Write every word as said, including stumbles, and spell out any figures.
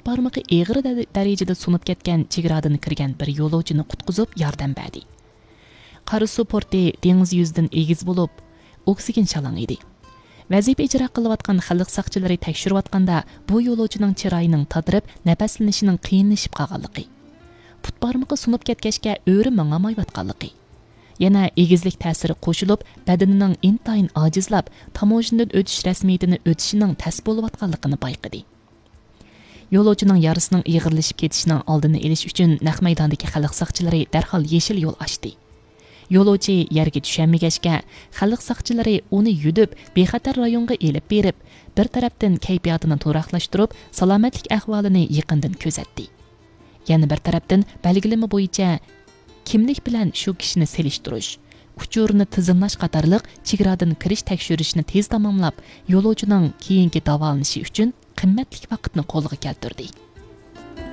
بارمىقى ئېغىر دە-، دەرىجىدە سۇنۇپ كەتكەن چېگرادىن كىرگەن بىر يولۇچىنى قۇتقۇزۇپ ياردەم بەردى. قاراسۇ پورتى دېڭىز يۈزىدىن ئېگىز بولۇپ، ئوكسىگېن شالاڭ ئىدى. ۋەزىپە ئىجرا قىلىۋاتقان خەلق ساقچىلىرى تەكشۈرۈۋاتقاندا، بۇ يولۇچىنىڭ چىرايىنىڭ تاتىرىپ، نەپەسلىنىشىنىڭ قىيىنلىشىپ قالغانلىقى، پۇت بارمىقى سۇنۇپ كەتكەچكە ئۆرە ماڭالمايۋاتقانلىقى، يەنە ئېگىزلىك تەسىرى قوشۇلۇپ، بەدىنىنىڭ ئىنتايىن ئاجىزلاپ، تاموژنىدىن ئۆتۈش رەسمىيىتىنى ئۆتۈشىنىڭ تەس بولۇۋاتقانلىقىنى بايقىدى. يولۇچىنىڭ يارىسىنىڭ ئېغىرلىشىپ كېتىشىنىڭ ئالدىنى ئېلىش ئۈچۈن نەق مەيداندىكى خەلق ساقچىلىرى دەرھال يېشىل يول ئاچتى. يولۇچى يەرگە چۈشەلمىگەچكە، خەلق ساقچىلىرى ئۇنى يۈدۈپ، بىخەتەر رايونغا ئېلىپ بېرىپ، بىر تەرەپتىن كەيپىياتىنى تۇراقلاشتۇرۇپ، سالامەتلىك ئەھۋالىنى يېقىندىن كۆزەتتى. يەنە بىر تەرەپتىن، بەلگىلىمە بويىچە، كىملىك بىلەن شۇ كىشىنى سېلىشتۇرۇش، ئۇچۇرنى تىزىملاش قاتارلىق چېگرادىن كىرىش تەكشۈرۈشنى تېز تاماملاپ، يولۇچىنىڭ كېيىنكى داۋالىنىشى ئۈچۈن قىممەتلىك ۋاقىتنى قولغا كەلتۈردى.